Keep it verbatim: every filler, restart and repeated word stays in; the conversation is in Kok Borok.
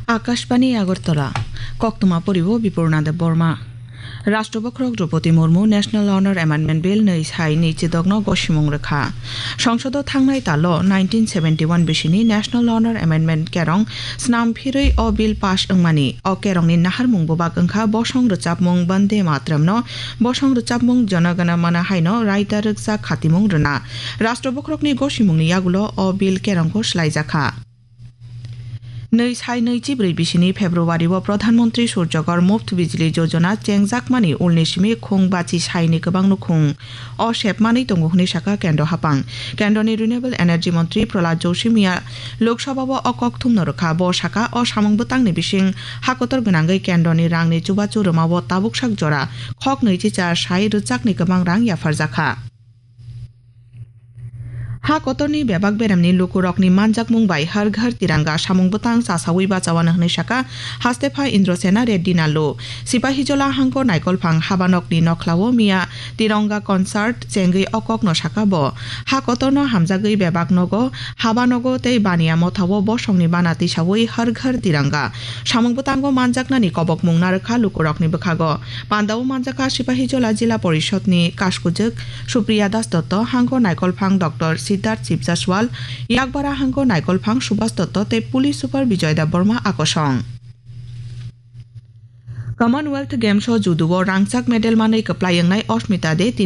Akashbani Agartala, Koktwma poribo Bipurna Debbarma. Rashtra Bokhorok Droupadi Murmu National Honor Amendment Bill nwi sai nwi chidokno gosimung rwkha. Songsodo thangnai talo nineteen seventy-one bisini National Honor Amendment kerong snam phirwi o bill pass wngmani. O kerongni naharmung bubak wngkha bosong rwchapmung Bande Matramno, bosong rwchapmung Jana Gana Mana haino raida rwkjak khatimung rwna. Rashtra Bokhorokni gosimungni yagulo o bill kerongkho swlaijakha. Nwi sai nwi chibrwi bisini February o Pradhan Mantri Surjagor Muft Bijli Jojona chengjakmani ulni simi khung bachi saini kwbang nukhung o sepmanwi tongo hwnwi saka Kendro Hapang. Kendroni Renewable Energy Mantri Prahlad Joshi miya Lok Sabha o o kok thumno rwkha. Bo saka o samung bwtangni bising ha kotor gwnangwi Kendroni rangni chubachu rwmao tabuk sak jora khok nwi chicha sai rwchakni kwbang rang yapharjakha. Ha kotorni bebak beremni lukurokni manjakmung bai Har Ghar Tiranga samung bwtang chasaui bachawano hwnwi saka Hastepha Indrasena Reddy Nallu. Sipahijola hangko naikolphang habanokni nokhlao miya Tiranga concert chengwi o kokno saka bo. Ha kotorno hamjagwi bebak nogo, habanogo tei baniya mothao bosongni bana tisaui Har Ghar Tiranga samung bwtango manjaknani kobokmung narwkha lukurokni bwkhago. Pandao manjakha Sipahijola Jila Porishodni Kaskujwk Supriya Das Dotto, hangko naikolphang Doctor Siddharth Sibjaswal, yakbara hangko naikolphang Subhas Dotto tei Police Super Bijoy Debbarma akosong. Commonwealth Games o judo o rangchak medal manwi kwplai wngnai Osmita De tini